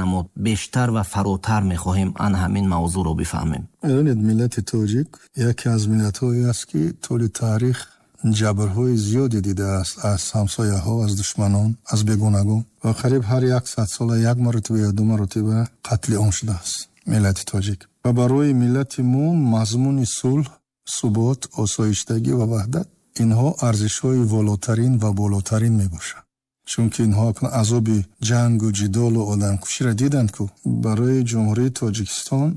Намуд. Бештар ва фаротар мехоҳем ан ҳамин мавзӯъро бифаҳмем. Медонед, миллати тоҷик яке аз миллатҳое аст, ки тӯли таърих ҷабрҳои зиёде дидааст аз ҳамсояҳо, аз душманон, аз бегонагон ва қариб ҳар 100 сола як маротиба ё ду маротиба қатли ом шудааст миллати тоҷик. Ва барои миллати мо мазмуни сулҳ, субот, осоиштагӣ ва ваҳдат инҳо арзишҳои волотарин ва болотарин мебошанд. Чунки инҳо азоби ҷангу ҷидолу одамкуширо диданд, ку барои Ҷумҳурии Тоҷикистон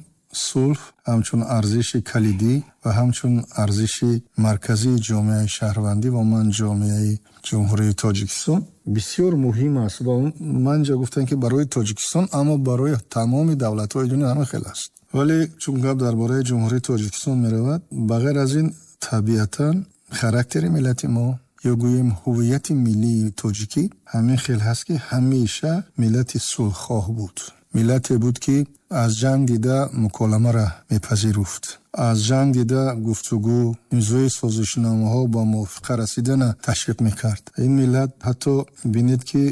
сулҳ ҳамчун арзиши калидӣ ва ҳамчун арзиши марказии ҷомеаи шаҳрвандӣ ва ман ҷомеаи Ҷумҳурии Тоҷикистон бисёр муҳим аст. Ва ман ҷо гуфтам, ки барои Тоҷикистон, аммо барои тамоми давлатҳои дунё ҳама хел аст. Вале чун гап дар бораи Ҷумҳурии Тоҷикистон меравад, ба ғайр аз ин табиатан характери миллати мо ё гӯем ҳуввияти миллии тоҷикӣ ҳамин хел ҳаст, ки ҳамеша миллати сулҳхоҳ буд. Миллате буд, ки аз ҷанг дида муколамаро мепазируфт, аз ҷанг дида гуфтугӯ, имзои созишномаҳо ба мувофиқа расидана ташвиқ мекард. Ин миллат ҳатто бинед, ки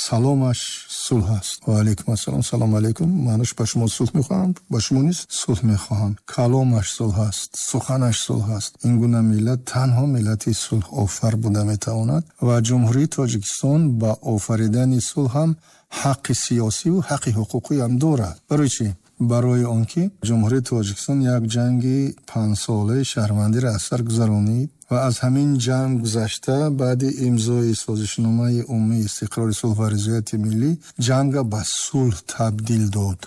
саломаш сулҳ аст. Ва алайкум ассалом, салом алайкум, маънош ба шумо сулҳ мехоҳам, ба шумо низ сулҳ мехоҳам. Каломаш сулҳ аст, суханаш сулҳ аст. Ин гуна миллат танҳо миллати сулҳофар буда метавонад ва Ҷумҳурии Тоҷикистон ба офаридани сулҳ ҳам ҳаққи сиёсиву ҳаққи ҳуқуқӣ ҳам дорад. Барои чӣ? Барои он ки Ҷумҳурии Тоҷикистон як ҷанги панҷсолаи шаҳрвандиро аз сар гузаронид ва аз ҳамин ҷанг гузашта баъди имзои созишномаи умумии истиқрори сулҳ ва ризояти миллӣ ҷанга ба сулҳ табдил дод.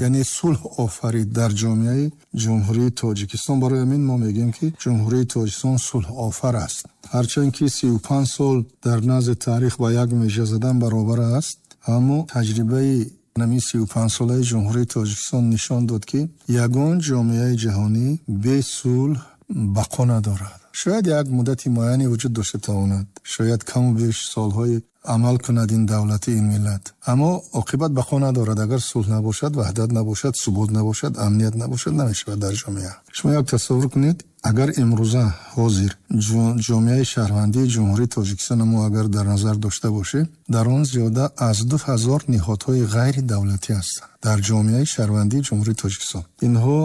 Яъне сулҳ офарид дар ҷомеаи Ҷумҳурии Тоҷикистон. Барои ҳамин мо мегӯем, ки Ҷумҳурии Тоҷикистон сулҳофар аст. Ҳарчанд ки 35 сол дар назди таърих ба як межа задан баробар аст, аммо таҷрибаи ҳамин 35-солаи Ҷумҳурии Тоҷикистон нишон дод, ки ягон ҷомеаи ҷаҳонӣ бе сулҳ бақо надорад. Шояд як муддати муайяне вуҷуд дошта тавонад, шояд каму беш солҳои амал кунад ин давлати, ин миллат, аммо оқибат бақо надорад. Агар сулҳ набошад, ваҳдат набошад, субот набошад, амният набошад, намешавад дар ҷомеа. Шумо як тасаввур кунед, агар имрӯза ҳозир ҷомеаи шаҳрвандии Ҷумҳурии Тоҷикистон мо агар дар назар дошта бошем, дар он зиёда аз 2000 ниҳодҳои ғайридавлатӣ ҳастанд дар ҷомеаи шаҳрвандии Ҷумҳурии Тоҷикистон. Инҳо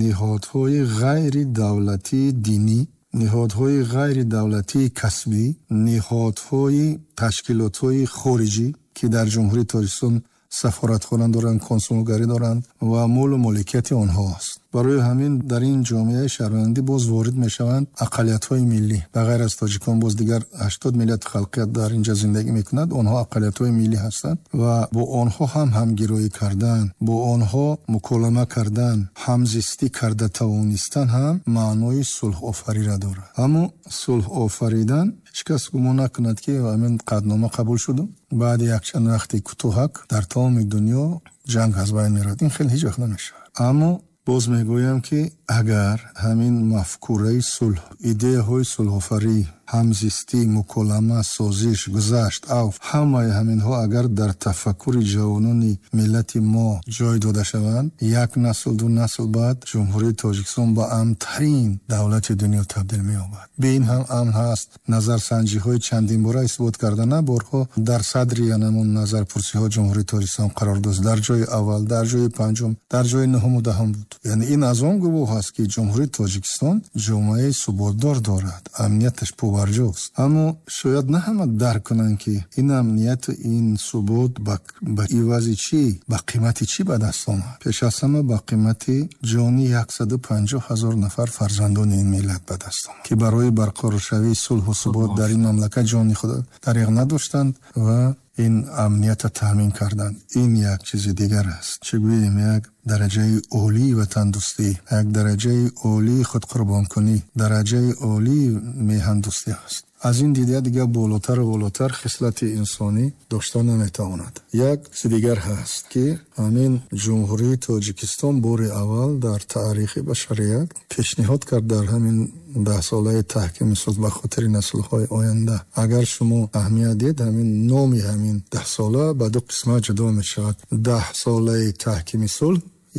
ниҳодҳои ғайридавлатии динӣ, ниҳодҳои ғайридавлатии касбӣ, ниҳодҳои ташкилотҳои хориҷӣ, ки дар Ҷумҳурии Тоҷикистон сафоратхона доранд, консулгарӣ доранд ва молу моликияти онҳо аст. Барои ҳамин дар ин ҷомеаи шаҳрвандӣ боз ворид мешаванд ақаллиятҳои миллӣ. Ба ғайр аз тоҷикон боз дигар 80 миллият халқият дар инҷа зиндагӣ мекунад, онҳо ақаллиятҳои миллӣ ҳастанд ва бо онҳо ҳам ҳамгироӣ кардан, бо онҳо муколама кардан, ҳамзистӣ карда тавонистан ҳам маънои сулҳофариро дорад. Аммо сулҳофаридан ҳеҷ кас гумон накунад, ки ҳамин қатънома қабул шуду баъди якчанд вақти кӯтоҳак дар тамоми дунё ҷанг аз байн меравад. Ин хел ҳеҷ вақт намешавад. Аммо боз мегӯям, ки агар ҳамин мафкураи сулҳ, идеяҳои сулҳофарӣ, ҳамзистӣ, муколама, созиш, гузашт, авф, ҳамаи ҳаминҳо агар дар тафаккури ҷавонони миллати мо ҷой дода шаванд, як насл, ду насл баъд Ҷумҳурии Тоҷикистон ба амнтарин давлати дунё табдил меёбад. Бе ин ҳам амн ҳаст. Назарсанҷиҳои чандинбора исбот карда, на борҳо дар садри янамун назарпурсиҳо Ҷумҳурии Тоҷикистон қарор дошт. Дар ҷои аввал, дар ҷои панҷум, дар ҷои нуҳуму даҳум буд. Яъне ин аз он гувоҳ аст, ки Ҷумҳурии Тоҷикистон ҷомеаи суботдор дорад, амнияташ побарҷост. Аммо шояд на ҳама дарк кунанд, ки ин амнияту ин субот ба ивази чӣ, ба қимати чӣ ба даст омад. Пеш аз ҳама ба қимати ҷони 150 000 нафар фарзандони ин миллат ба даст омад, ки барои барқароршавии сулҳу субот дар ин мамлакат ҷони худ дариғ надоштанд ва ин амниятро таъмин карданд. Ин як чизи дигар аст. Чӣ гӯем, як дараҷаи олии ватандӯстӣ, як дараҷаи олии худқурбонкунӣ, дараҷаи олии меҳандӯстӣ аст. Аз ин дида дигар болотару болотар хислати инсонӣ дошта наметавонад. Як чизи дигар ҳаст, ки ҳамин Ҷумҳурии Тоҷикистон бори аввал дар таърихи башарият пешниҳод кард дар ҳамин даҳсолаи таҳкими сулҳ ба хотири наслҳои оянда. Агар шумо аҳамият диҳед, ҳамин номи ҳамин даҳсола ба ду қисмат ҷудо мешавад: даҳсолаи таҳкими сулҳ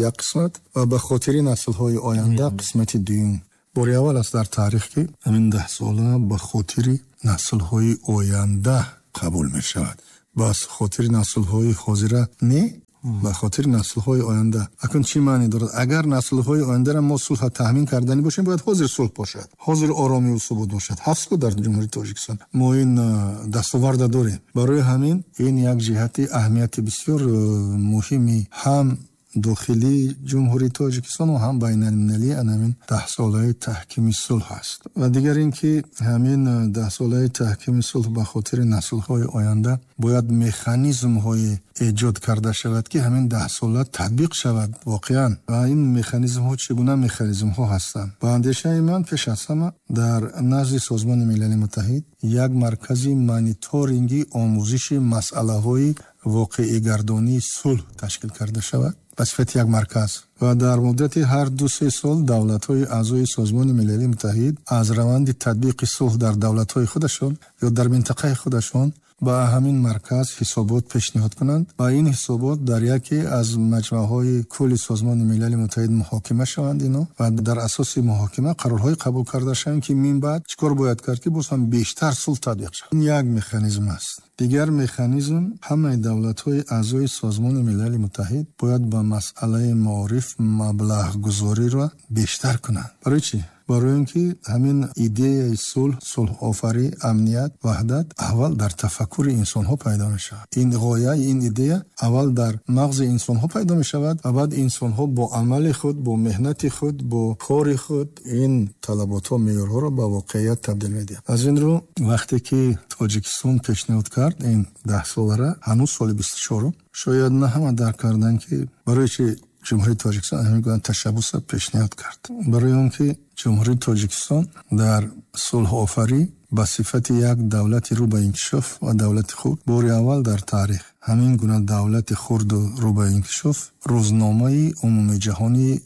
як қисмат ва ба хотири наслҳои оянда қисмати дуюм. Бори аввал аст дар таърих, ки ҳамин даҳсола ба хотири наслҳои оянда қабул мешавад, ба хотири наслҳои ҳозира не. Ба хотири наслҳои оянда. Акнун чӣ маъне дорад? Агар наслҳои ояндаро мо сулҳ таъмин карданӣ бошем, бояд ҳозир сулҳ бошад, ҳозир оромӣ ва субот бошад. Ҳафт сол дар Ҷумҳурии Тоҷикистон мо ин дастоварда дорем. Барои ҳамин ин як ҷиҳати аҳамияти бисёр муҳими ҳам дохилии Ҷумҳурии Тоҷикистон ва ҳам байналмилалии ҳамин даҳсолаи таҳкими сулҳ аст. Ва дигар ин ки ҳамин даҳсолаи таҳкими сулҳ ба хотири наслҳои оянда бояд механизмҳои эҷод карда шавад, ки ҳамин даҳсола татбиқ шавад воқеан. Ва ин механизмҳо чӣ гуна механизмҳо ҳастанд? Ба андешаи ман, пеш аз ҳама дар назди Созмони Милали Муттаҳид як маркази мониторинги омӯзиши масъалаҳои воқеигардонии сулҳ ташкил карда шавад ба сифати як марказ. Ва дар муддати ҳар 2-3 сол давлатҳои аъзои Созмони Милали Муттаҳид аз раванди татбиқи сулҳ дар давлатҳои худашон ё дар минтақаи худашон ба ҳамин марказ ҳисобот пешниҳод кунанд ва ин ҳисобот дар яке аз маҷмаъҳои кулли Созмони Милали Муттаҳид муҳокима шаванд ино ва дар асоси муҳокима қарорҳое қабул карда шаванд, ки мин баъд чӣ кор бояд кард, ки боз ҳам бештар сулҳ татбиқ шавад. Ин як механизм аст. Дигар механизм, ҳамаи давлатҳои аъзои Созмони Милали Муттаҳид бояд ба масъалаи маориф маблағгузориро бештар кунанд. Барои чӣ? Барои он ки ҳамин идеяи сулҳ, сулҳофарӣ, амният, ваҳдат аввал дар тафаккури инсонҳо пайдо мешавад. Ин ғоя, ин идея аввал дар мағзи инсонҳо пайдо мешавад ва баъд инсонҳо бо амали худ, бо меҳнати худ, бо кори худ ин талаботҳо, меъёрҳоро ба воқеият табдил медиҳанд. Аз ин рӯ вақте ки Тоҷикистон пешниҳод кард ин даҳсолара, ҳанӯз соли 24, шояд на ҳама дарк карданд, ки барои чи Ҷумҳурии Тоҷикистон ҳамин гуна ташаббусро пешниҳод кард. Барои он ки Ҷумҳурии Тоҷикистон дар сулҳофарӣ ба сифати як давлати рӯ ба инкишоф ва давлати хурд бори аввал дар таърих ҳамин гуна давлати хурду рӯ ба инкишоф рӯзномаи умумиҷаҳонии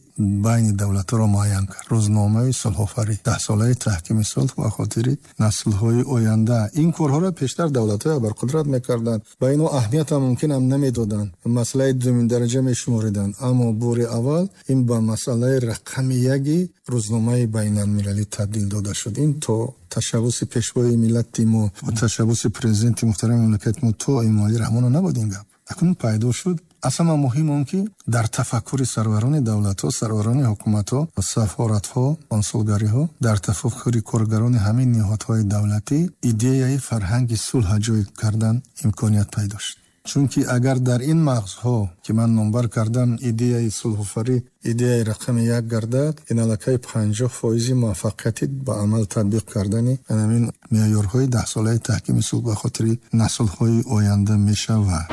байни давлатҳоро муайян кард. Рӯзномаи сулҳофарӣ, даҳсолаи таҳкими сулҳ ба хотири наслҳои оянда. Ин корҳоро пештар давлатҳои абарқудрат мекарданд, ба инҳо аҳамият ҳам мумкин ҳам намедоданд, масъалаи дуюм дараҷа мешумориданд. Аммо бори аввал ин ба масъалаи рақами яки рӯзномаи байналмилалӣ табдил дода шуд. Ин то ташаббуси пешвои миллати мо ва ташаббуси президенти муҳтарами мамлакати мо то Эмомалӣ Раҳмонов набуд ин гап. Акнун пайдо шуд. Аз ҳама муҳим он ки дар тафаккури сарварони давлатҳо, сарварони ҳукуматҳо, сафоратҳо, консулгариҳо, дар тафаккури коргарони ҳамин ниҳодҳои давлатӣ идеяи фарҳанги сулҳ ҷой кардан имконият пайдо шуд. Чунки агар дар ин мағзҳо, ки ман номбар кардам, идеяи сулҳофарӣ идеяи рақами як гардад, ин аллакай 50% муваффақияти ба амал татбиқ кардани ҳамин меъёрҳои даҳсолаи таҳкими сулҳ ба хотири наслҳои оянда мешавад.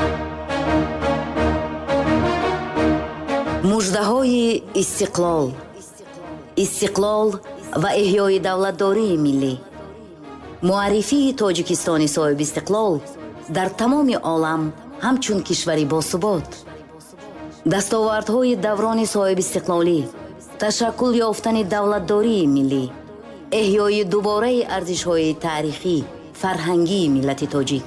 Муждаҳои истиқлол, истиқлол ва эҳёи давлатдории миллӣ, муаррифии Тоҷикистони соҳибистиқлол дар тамоми олам ҳамчун кишвари босубот, дастовардҳои даврони соҳибистиқлолӣ, ташаккул ёфтани давлатдории миллӣ, эҳёи дубораи арзишҳои таърихӣ, фарҳангии миллати тоҷик,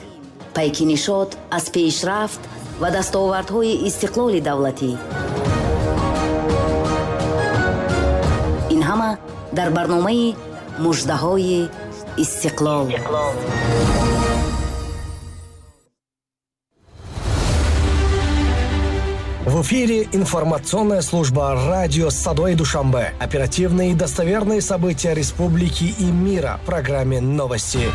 пайки нишот аз пешрафт ва дастовардҳои истиқлоли давлатӣ. Ин ҳама дар барномаи муждаҳои истиқлол. В эфире информационная служба радио «Садои Душанбе». Оперативные и достоверные события республики и мира в программе «Новости».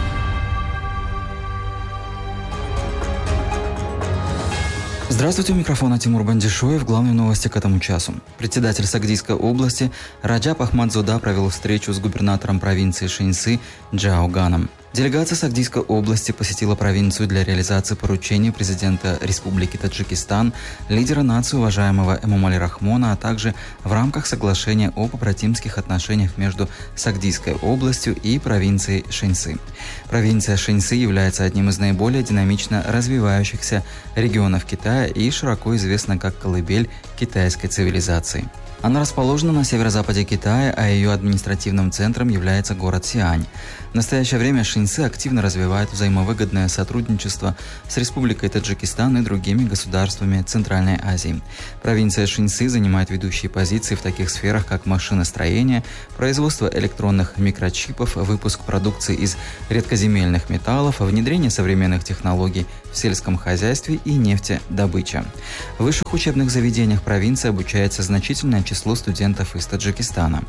Здравствуйте, у микрофона Тимур Бандишоев. Главные новости к этому часу. Председатель Сагдийской области Раджаб Ахмадзода провел встречу с губернатором провинции Шэньси Джао Ганом. Делегация Сагдийской области посетила провинцию для реализации поручений президента Республики Таджикистан, лидера нации уважаемого Эмомали Рахмона, а также в рамках соглашения о побратимских отношениях между Сагдийской областью и провинцией Шэньси. Провинция Шэньси является одним из наиболее динамично развивающихся регионов Китая и широко известна как колыбель китайской цивилизации. Она расположена на северо-западе Китая, а ее административным центром является город Сиань. В настоящее время Шэньси Шэньси активно развивает взаимовыгодное сотрудничество с Республикой Таджикистан и другими государствами Центральной Азии. Провинция Шэньси занимает ведущие позиции в таких сферах, как машиностроение, производство электронных микрочипов, выпуск продукции из редкоземельных металлов, внедрение современных технологий в сельском хозяйстве и нефтедобыча. В высших учебных заведениях провинции обучается значительное число студентов из Таджикистана.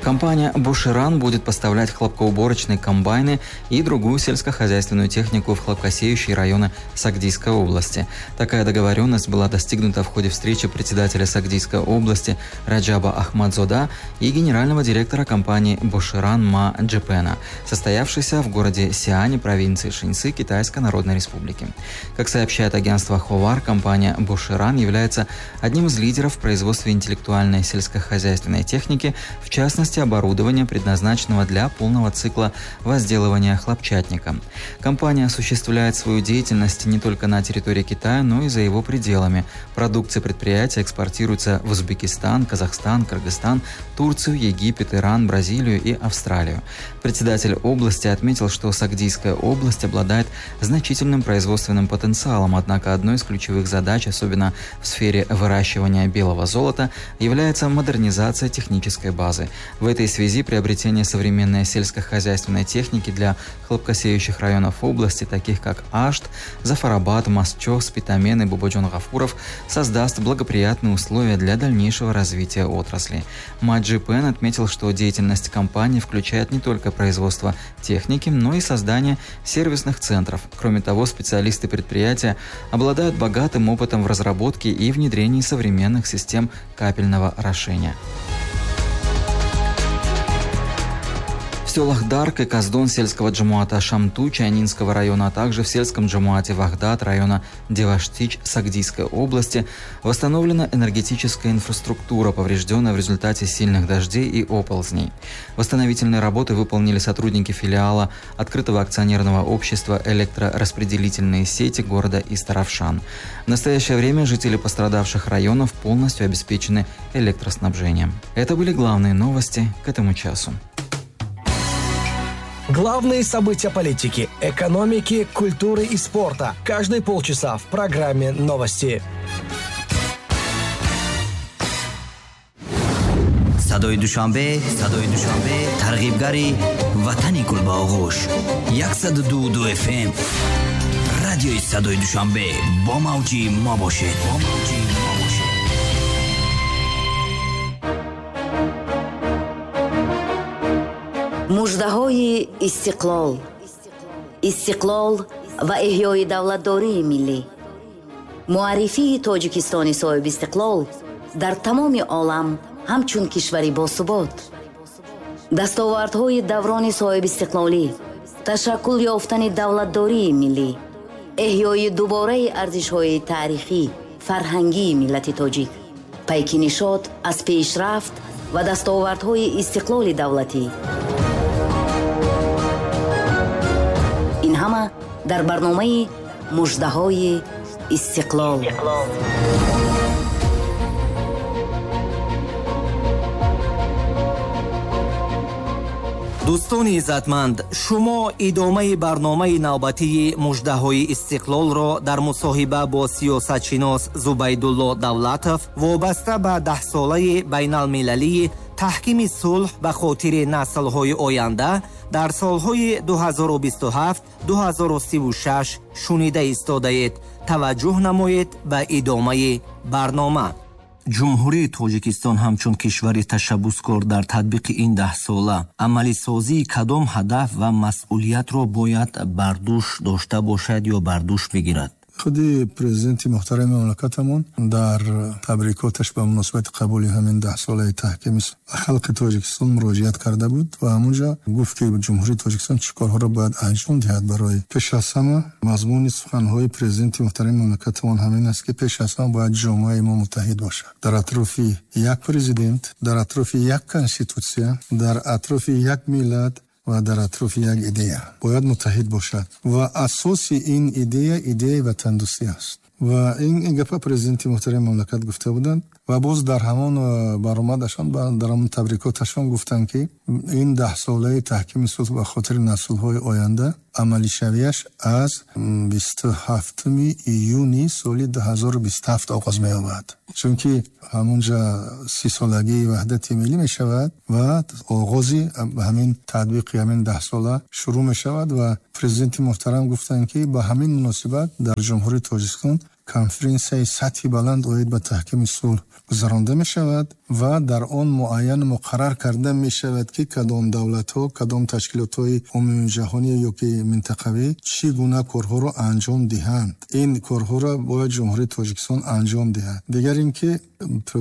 Компания «Буширан» будет поставлять хлопкоуборочные комбайны и другую сельскохозяйственную технику в хлопкосеющие районы Сагдийской области. Такая договоренность была достигнута в ходе встречи председателя Сагдийской области Раджаба Ахмадзода и генерального директора компании «Буширан» Ма Джепена, состоявшейся в городе Сиане провинции Шэньси Китайской Народной Республики. Как сообщает агентство «Ховар», компания «Буширан» является одним из лидеров в производстве интеллектуальной сельскохозяйственной техники, в частности, оборудования, предназначенного для полного цикла возделывания хлопчатника. Компания осуществляет свою деятельность не только на территории Китая, но и за его пределами. Продукция предприятия экспортируется в Узбекистан, Казахстан, Кыргызстан, Турцию, Египет, Иран, Бразилию и Австралию. Председатель области отметил, что Сагдийская область обладает значительным производственным потенциалом, однако одной из ключевых задач, особенно в сфере выращивания белого золота, является модернизация технической базы. В этой связи приобретение современной сельскохозяйственной техники для хлопкосеющих районов области, таких как Ашт, Зафарабад, Масчо, Спитамен и Бободжон-Гафуров, создаст благоприятные условия для дальнейшего развития отрасли. Ма Джипен отметил, что деятельность компании включает не только производство техники, но и создание сервисных центров. Кроме того, специалисты предприятия обладают богатым опытом в разработке и внедрении современных систем капельного орошения. В селах Дарк и Каздон сельского джамуата Шамту Чайнинского района, а также в сельском джамуате Вахдат района Деваштич Сагдийской области восстановлена энергетическая инфраструктура, поврежденная в результате сильных дождей и оползней. Восстановительные работы выполнили сотрудники филиала открытого акционерного общества «Электрораспределительные сети» города Истаравшан. В настоящее время жители пострадавших районов полностью обеспечены электроснабжением. Это были главные новости к этому часу. Главные события политики, экономики, культуры и спорта. Каждые полчаса в программе «Новости». Садои Душанбе, Садои Душанбе, тарғибгари ватани гулбаоғӯш. 102.2 FM. Радиои Садои Душанбе бо мавҷи мо бошед. Бо мавҷи мо бошед. Муждаҳои истиқлол. Истиқлол ва эҳёи давлатдории миллӣ. Муаррифии Тоҷикистони соҳибистиқлол дар тамоми олам ҳамчун кишвари босубот. Дастовардҳои даврони соҳибистиқлолӣ, ташаккул ёфтани давлатдории миллӣ, эҳёи дубораи арзишҳои таърихӣ, фарҳангии миллати тоҷик, пайки нишот аз пешрафт ва дастовардҳои истиқлоли давлатӣ. Ин ҳама дар барномаи муждаҳои истиқлол. Дӯстони иззатманд, шумо идомаи барномаи навбатии муждаҳои истиқлолро дар мусоҳиба бо сиёсатшинос Зубайдулло Давлатов вобаста ба даҳсолаи байналмилалии таҳкими сулҳ ба хотири наслҳои оянда дар солҳои 2027-2036 шунида истодаед. Таваҷҷӯҳ намоед ба идомаи барнома. Ҷумҳурии Тоҷикистон ҳамчун кишвари ташаббускор дар татбиқи ин даҳсола амалисозии кадом ҳадаф ва масъулиятро бояд бар дӯш дошта бошад ё бар дӯш бигирад? Худи президенти муҳтарами мамлакатамон дар табрикоташ ба муносибати қабули ҳамин даҳсолаи таҳкими халқи Тоҷикистон муроҷиат карда буд ва ҳамунҷо гуфт, ки Ҷумҳурии Тоҷикистон чӣ корҳоро бояд анҷом диҳад барои пеш аз ҳама. Мазмуни суханҳои президенти муҳтарами мамлакатамон ҳамин аст, ки пеш аз ҳама бояд ҷомеаи мо муттаҳид бошад. Дар атрофи як президент, дар атрофи як конститутсия, дар атрофи як миллат ва дар атрофи як идея бояд муттаҳид бошад. Ва асоси ин идея идеяи ватандӯстӣ аст. Ва ин гапа президенти муҳтарами мамлакат гуфта буданд ва боз дар ҳамон баромадашон, дар ҳамон табрикоташон гуфтанд, ки ин даҳсолаи таҳкими сулҳ ба хотири наслҳои оянда амалишавиаш аз 27 июни соли 2027 оғоз меёбад. Чунки ҳамонҷа 30-солагии ваҳдати миллӣ мешавад ва оғози ҳамин татбиқи ҳамин даҳсола шурӯъ мешавад ва президенти муҳтарам гуфтанд, ки ба ҳамин муносибат дар Ҷумҳурии Тоҷикистон конференсияи сатҳи баланд оид ба таҳкими сулҳ гузаронда мешавад ва дар он муайян муқаррар карда мешавад, ки кадом давлатҳо, кадом ташкилотҳои умумиҷаҳонӣ ё ки минтақавӣ чӣ гуна корҳоро анҷом диҳанд. Ин корҳоро бояд Ҷумҳурии Тоҷикистон анҷом диҳад. Дигар ин ки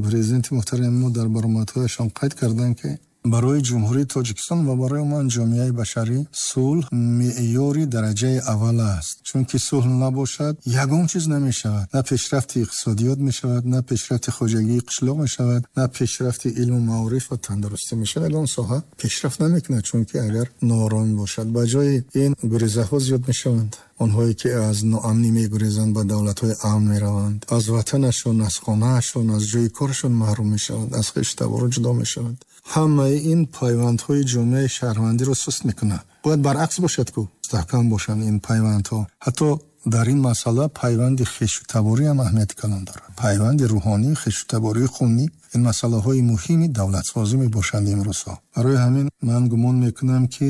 президенти муҳтарами мо дар баромадҳояшон қайд карданд, ки барои Ҷумҳурии Тоҷикистон ва барои умуман ҷомеаи башарӣ сулҳ меъёри дараҷаи аввал аст. Чунки сулҳ набошад, ягон чиз намешавад. На пешрафти иқтисодиёт мешавад, на пешрафти хоҷагии қишлоқ мешавад, на пешрафти илму маориф ва тандурустӣ мешавад. Ягон соҳа пешрафт намекунад, чунки агар нооромӣ бошад, ба ҷои ин гурезаҳо зиёд мешаванд. Онҳое ки аз ноамнӣ мегурезанд, ба давлатҳои амн мераванд, аз ватанашон, аз хонаашон, аз ҷои корашон маҳрум мешаванд, аз хешу табору ҷудо мешаванд. Ҳамаи ин пайвандҳои ҷомеаи шаҳрвандиро суст мекунад. Бояд баръакс бошад, ку мустаҳкам бошанд ин пайвандҳо. Ҳатто дар ин масъала пайванди хешу таборӣ ҳам аҳамияти калон дорад. Пайванди рӯҳонӣ, хешу табории хунӣ, ин масъалаҳои муҳими давлатсозӣ мебошанд имрӯзҳо. Барои ҳамин ман гумон мекунам, ки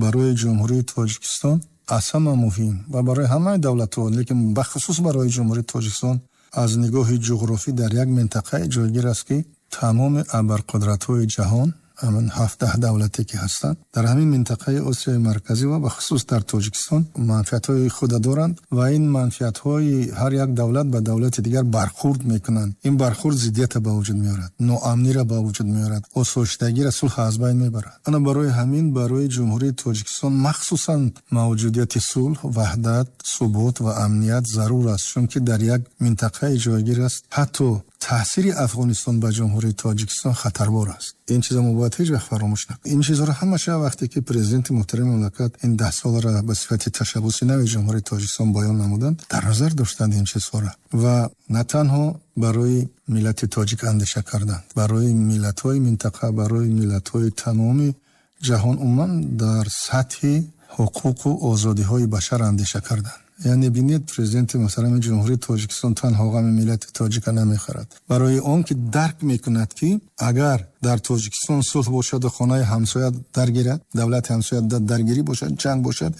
барои Ҷумҳурии Тоҷикистон аз ҳама муҳим ва барои ҳамаи давлатҳо, лекин бахусус барои Ҷумҳурии Тоҷикистон аз нигоҳи ҷуғрофӣ дар як минтақае ҷойгир аст, ки тамоми абарқудратҳои ҷаҳон, ҳамин 17 давлате ки ҳастанд, дар ҳамин минтақаи Осиёи Марказӣ ва бахусус дар Тоҷикистон манфиатҳои худа доранд ва ин манфиатҳои ҳар як давлат ба давлати дигар бархурд мекунанд. Ин бархурд зиддията ба вуҷуд меорад, ноамниро ба вуҷуд меорад, осоиштагиро, сулҳ аз байн мебарад. Ана барои ҳамин барои Ҷумҳурии Тоҷикистон махсусан мавҷудияти сулҳ, ваҳдат, субот ва амният зарур аст, чунки дар як минтақаи ҷойгир аст. Ҳатто таъсири Афғонистон ба Ҷумҳурии Тоҷикистон хатарбор аст. Ин чиза мо бояд ҳеҷ вақт фаромӯш накунем. Ин чизҳоро ҳамаша вақте ки президенти муҳтарами мамлакат ин 10 соларо ба сифати ташаббуси нави Ҷумҳурии Тоҷикистон баён намуданд, дар назар доштанд ин чизҳоро ва на танҳо барои миллати тоҷик андеша карданд, барои миллатҳои минтақа, барои миллатҳои тамоми ҷаҳон, умуман дар сатҳи ҳуқуқу озодиҳои башар андеша карданд. Яъне бинед, президенти муҳтарами Ҷумҳурии Тоҷикистон танҳо ғами миллати тоҷика намехӯрад, барои он ки дарк мекунад, ки агар дар Тоҷикистон сулҳ бошаду хонаи ҳамсоя даргирад, давлати ҳамсоя даргирӣ бошад, ҷанг бошад,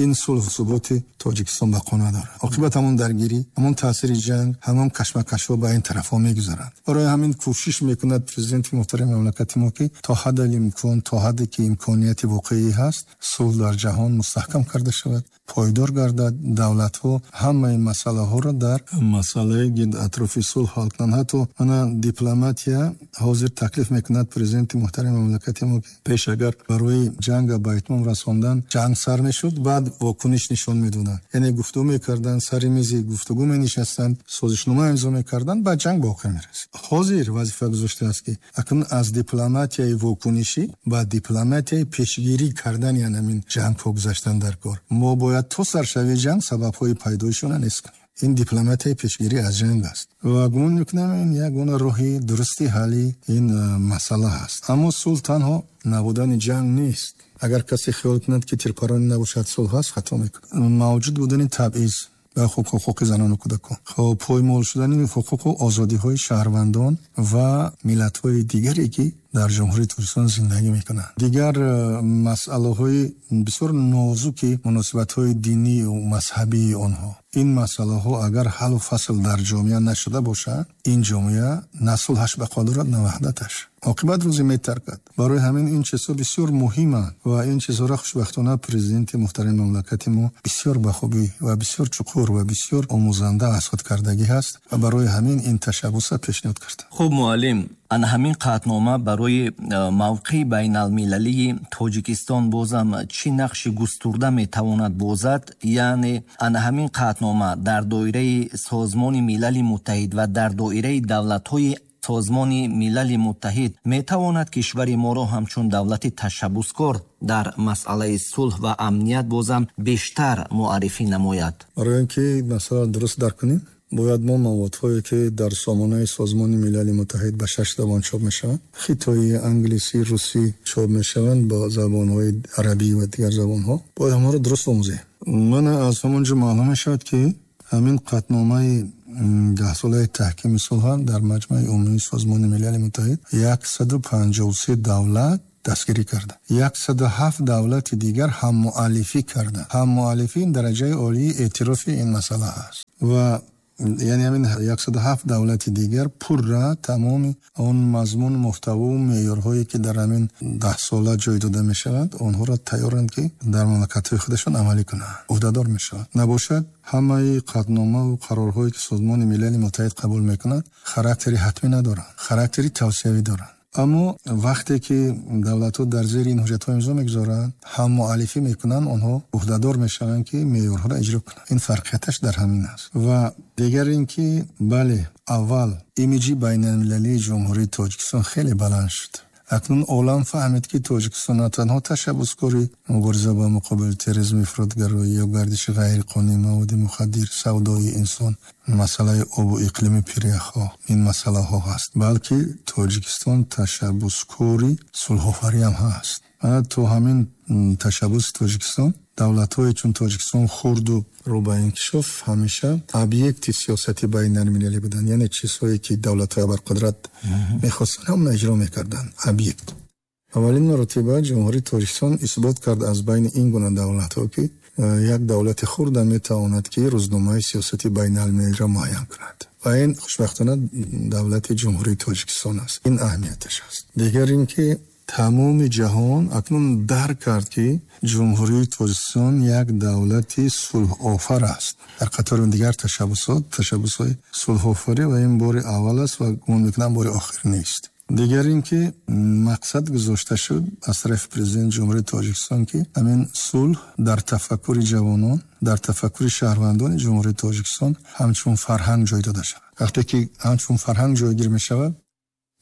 ин сулҳу суботи Тоҷикистон бақо надорад. Оқибат ҳамон даргирӣ, ҳамон таъсири ҷанг, ҳамон кашмакашҳо ба ин тарафҳо мегузаранд. Барои ҳамин кӯшиш мекунад президенти муҳтарами мамлакати мо, ки то ҳаддал имкон, то ҳадде ки имконияти воқеӣ ҳаст, сулҳ дар ҷаҳон мустаҳкам карда шавад, пойдор гардад, давлатҳо ҳамаи масъалаҳоро дар масъалаи гирд атрофи сулҳ ҳал кунанд. Ҳатто ана дипломатия ҳозир таклиф мекунад президенти муҳтарами мамлакати мо, ки пеш агар барои ҷанга ба итмом расондан ҷанг сар мешуд, баъд вокуниш нишон медоданд, яъне гуфтугӯ мекарданд, сари мизи гуфтугӯ менишастанд, созишнома имзо мекарданд, баъд ҷанг ба охир мерасид. Ҳозир вазифа гузоштааст, ки акнун аз дипломатияи вокунишӣ ба дипломатияи пешгирӣ кардани ҳамин ҷангҳо гузаштан дар кор. Мо бояд то саршавии ҷанг сабабҳои пайдоишона нест кунем. Ин дипломатияи пешгирӣ аз ҷанг аст ва гумон мекунам, ин ягона роҳи дурусти ҳалли ин масъала аст. Аммо сулҳ танҳо набудани ҷанг нест. Агар касе хиёл кунад, ки тирпаронӣ набошад, сулҳ ҳаст, хато мекунад. Мавҷуд будани табъиз ба ҳуқуқи занону кӯдакон, хоб, поймол шудани ҳуқуқу озодиҳои шаҳрвандон ва миллатҳои дигаре, ки дар Ҷумҳурии Тоҷикистон зиндагӣ мекунанд, дигар масъалаҳои бисёр нозуки муносибатҳои динию мазҳабии онҳо, ин масъалаҳо агар ҳаллу фасл дар ҷомеа нашуда бошад, ин ҷомеа на сулҳаш бақо дорад, на ваҳдаташ, оқибат рӯзе метаркад. Барои ҳамин ин чизҳо бисёр муҳиманд ва ин чизҳоро хушбахтона президенти муҳтарами мамлакати мо бисёр ба хубӣ ва бисёр чуқур ва бисёр омӯзанда аз худ кардагӣ ҳаст ва барои ҳамин ин ташаббуса пешниҳод кард. Хуб, муаллим, ана ҳамин қатънома барои мавқеи байналмилалии Тоҷикистон бозам чӣ нақши густурда метавонад бозад? Яъне ана ҳамин қатънома дар доираи Созмони Милали Муттаҳид ва дар доираи давлатҳои Созмони Милали Муттаҳид метавонад кишвари моро ҳамчун давлати ташаббускор дар масъалаи сулҳ ва амният бозам бештар муаррифӣ намояд? Барои он ки масъала дуруст дарк кунем. Бояд мо маводҳое, ки дар сомонаи Созмони Милали Муттаҳид ба 6 забон чоп мешаванд, хитоӣ, англисӣ, русӣ чоп мешаванд, бо забонҳои арабӣ ва дигар забонҳо, бояд ҳамонро дуруст омӯзем. Мана аз ҳамон ҷо маълум мешавад, ки ҳамин қатъномаи даҳсолаи таҳкими сулҳ дар Маҷмаи Умумии Созмони Милали Муттаҳид 153 давлат дастгирӣ карда, 107 давлати дигар ҳаммуаллифӣ карда. Ҳаммуаллифӣ ин дараҷаи олии эътирофи ин масъала ҳаст ва яъне ҳамин 107 давлати дигар пурра тамоми он мазмун, муҳтаву меъёрҳое, ки дар ҳамин даҳсола ҷой дода мешаванд, онҳоро тайёранд, ки дар мамлакатҳои худашон амалӣ кунанд, ӯҳдадор мешаванд. Набошад, ҳамаи қатъномаву қарорҳое, ки Созмони Милали Муттаҳид қабул мекунад, характери ҳатмӣ надоранд, характери тавсиявӣ доранд. Аммо вақте ки давлатҳо дар зери ин ҳуҷҷатҳо имзо мегузоранд, ҳам муаллифӣ мекунанд, онҳо ӯҳдадор мешаванд, ки меъёрҳоро иҷро кунанд. Ин фарқияташ дар ҳамин аст. Ва дигар ин ки, бале, аввал имиҷи байналмилалии Ҷумҳурии Тоҷикистон хеле баланд шуд. Акнун олам фаҳмид, ки Тоҷикистон на танҳо ташаббускори мубориза ба муқобили терроризм, ифротгароӣ ё гардиши ғайриқонунии маводи мухаддир, савдои инсон, масъалаи обу иқлими пиряхҳо, ин масъалаҳо ҳаст, балки Тоҷикистон ташаббускори сулҳофарӣ ҳам ҳаст. То ҳамин ташаббуси Тоҷикистон давлатҳое чун Тоҷикистон хурду рӯ ба инкишоф ҳамеша объекти сиёсати байналмилалӣ буданд, яъне чизҳое, ки давлатҳои абарқудрат мехостанд, ҳамона иҷро мекарданд, объект. Аввалин маротиба Ҷумҳурии Тоҷикистон исбот кард аз байни ин гуна давлатҳо, ки як давлати хурда метавонад, ки рӯзномаи сиёсати байналмилалиро муайян кунад, ва ин хушбахтона давлати Ҷумҳурии Тоҷикистон аст. Ин аҳамияташ аст. Дигар ин ки тамоми ҷаҳон акнун дарк кард, ки Ҷумҳурии Тоҷикистон як давлати сулҳофар аст. Дар қатори дигар ташаббусот, ташаббусҳои сулҳофарӣ, ва ин бори аввал аст ва гумон мекунам, бори охир нест. Дигар ин ки мақсад гузошта шуд аз тарафи Президенти Ҷумҳурии Тоҷикистон, ки ҳамин сулҳ дар тафаккури ҷавонон, дар тафаккури шаҳрвандони Ҷумҳурии Тоҷикистон ҳамчун фарҳанг ҷой дода шавад. Вақте ки ҳамчун фарҳанг ҷойгир мешавад,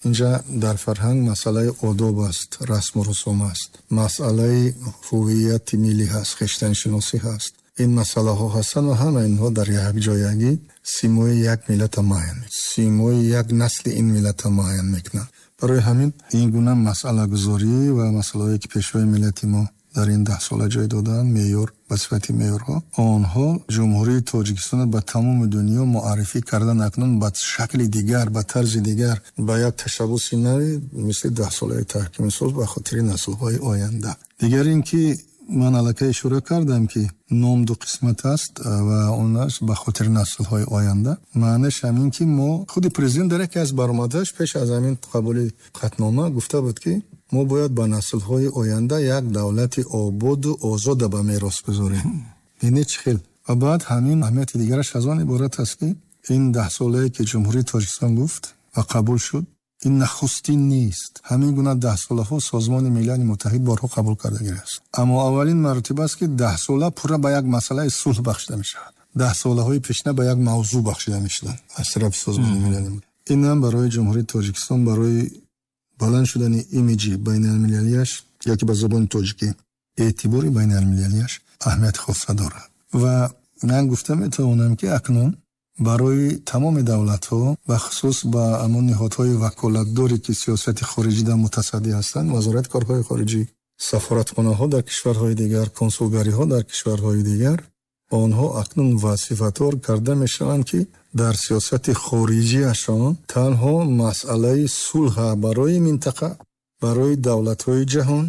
инҷа дар фарҳанг масъалаи одоб аст, расму русум аст, масъалаи ҳувияти миллӣ ҳаст, хештаншиносӣ ҳаст. Ин масъалаҳо ҳастанд ва ҳама инҳо дар як ҷоягӣ симои як миллата муайян, симои як насли ин миллата муайян мекунанд. Барои ҳамин ин гуна масъалагузорӣ ва масъалаҳое, ки Пешвои миллати мо дар ин даҳсола ҷой доданд, меъёр ба сифати меъёрҳо, онҳо Ҷумҳурии Тоҷикистонро ба тамоми дунё муаррифӣ кардан акнун ба шакли дигар, ба тарзи дигар, ба як ташаббуси нави мисли даҳсолаи таҳкими сулҳ ба хотири наслҳои оянда. Дигар ин ки ман аллакай ишора кардам, ки ном ду қисмат аст ва он аст ба хотири наслҳои оянда. Маънаш ҳамин, ки мо худи президент дар яке аз баромадаш пеш аз ҳамин қабули қатънома гуфта буд, ки мо бояд ба наслҳои оянда як давлати ободу озода ба мерос гузорем. Бинед, чӣ хел. Ва баъд ҳамин аҳамияти дигараш аз он иборат аст, ки ин даҳсолае, ки Ҷумҳурии Тоҷикистон гуфт ва қабул шуд, ин нахустин нест. Ҳамин гуна даҳсолаҳо Созмони Милали Муттаҳид борҳо қабул кардагиаст, аммо аввалин маротиба аст, ки даҳсола пурра ба як масъалаи сулҳ бахшида мешавад. Даҳсолаҳои пешина ба як мавзӯъ бахшида мешуданд аз тарафи Созмони Милали Муттаҳид. Ин ҳам барои Ҷумҳурии Тоҷикистон, барои баланд шудани имиҷи байналмилалиаш ёки ба забони тоҷикӣ эътибори байналмилалиаш аҳамияти хоса дорад. Ва ман гуфта метавонам, ки акнун барои тамоми давлатҳо, бахусус ба ҳамон ниҳодҳои ваколатдоре, ки сиёсати хориҷида мутасаддӣ ҳастанд, Вазорати корҳои хориҷӣ, сафоратхонаҳо дар кишварҳои дигар, консулгариҳо дар кишварҳои дигар, онҳо акнун вазифадор карда мешаванд, ки дар сиёсати хориҷиашон танҳо масъалаи сулҳа барои минтақа, барои давлатҳои ҷаҳон,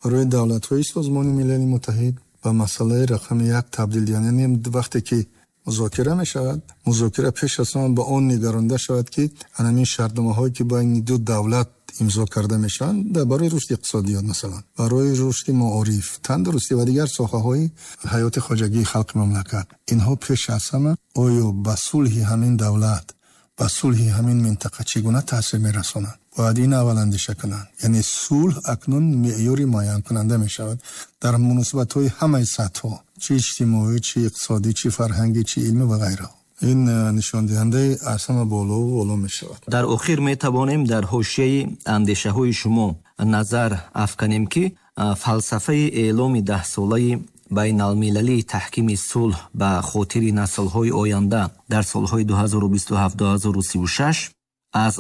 барои давлатҳои Созмони Милали Муттаҳид ба масъалаи рақами як табдил диҳанд. Яъне вақте ки музокира мешавад, музокира пеш аз ҳама ба он нигаронда шавад, ки ҳамин шартномаҳое, ки байни ду давлат имзо карда мешаванд, барои рушди иқтисодиёт, масалан, барои рушди маориф, тандурустӣ ва дигар соҳаҳои ҳаёти хоҷагии халқи мамлакат, инҳо пеш аз ҳама оё ба сулҳи ҳамин давлат, ба сулҳи ҳамин минтақа чӣ гуна таъсир мерасонанд, бояд ин аввал андеша кунанд. Яъне сулҳ акнун меъёри муайянкунанда мешавад дар муносибатҳои ҳамаи сатҳҳо, чӣ иҷтимоӣ, чӣ иқтисодӣ, чӣ фарҳангӣ, чӣ илмӣ ва ғайраҳо. Ин нишондиҳандаи аз ҳама болову боло мешавад. Дар охир метавонем дар ҳошияи андешаҳои шумо назар афканем, ки фалсафаи эъломи даҳсолаи Байналмилалии таҳкими сулҳ ба хотири наслҳои оянда дар солҳои 2027-2036 аз